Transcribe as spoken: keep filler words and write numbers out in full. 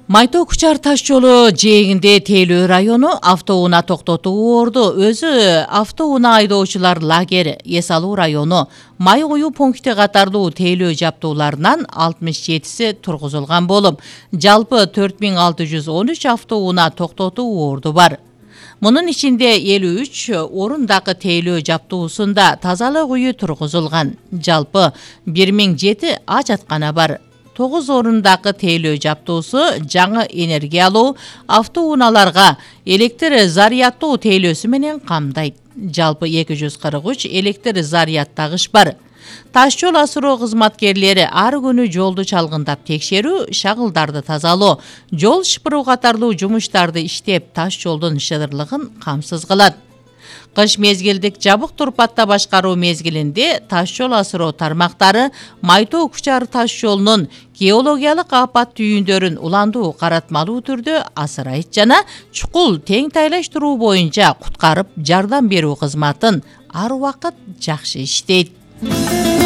Майтоо Кучар таш жолу жээгинде Тейлөө району автоунаа токтотуу орду. Өзү автоунаа айдоочулар лагери эс алуу району май куюу пункти катарлуу Тейлөө жаптууларынан алтымыш жетиси тургузулган болуп, жалпы төрт миң алты жүз он үч автоунаа токтотуу орду бар. Мунун ичинде элүү үч орундагы Тейлөө жаптуусунда тазалык үйү тургузулган. Жалпы бир миң жети ажаткана бар. тогуз орундагы Тейлөө жаптуусу жаңы энергиялуу автоунааларга электр зарядтоо тейлөөсү менен камдайт. Жалпы эки жүз кырк үч электр зарядтагыч бар. Таш жол асыроо кызматкерлери ар күнү жолду чалгындап текшерүү, шагылдарды тазалоо, жол шыпыруу катарлуу жумуштарды иштеп, таш жолдун шыдырлыгын камсыз кылат. Кыш мезгилдик жабык турпатта башкаруу мезгилинде таш жол асыроо тармактары Майтоо Кучар таш жолунун геологиялык апат түйүндөрүн уландуу каратмалуу түрдө асырайт жана чукул тең тайлаштыруу боюнча куткарып жардам берүү кызматын ар убакыт жакшы иштейт.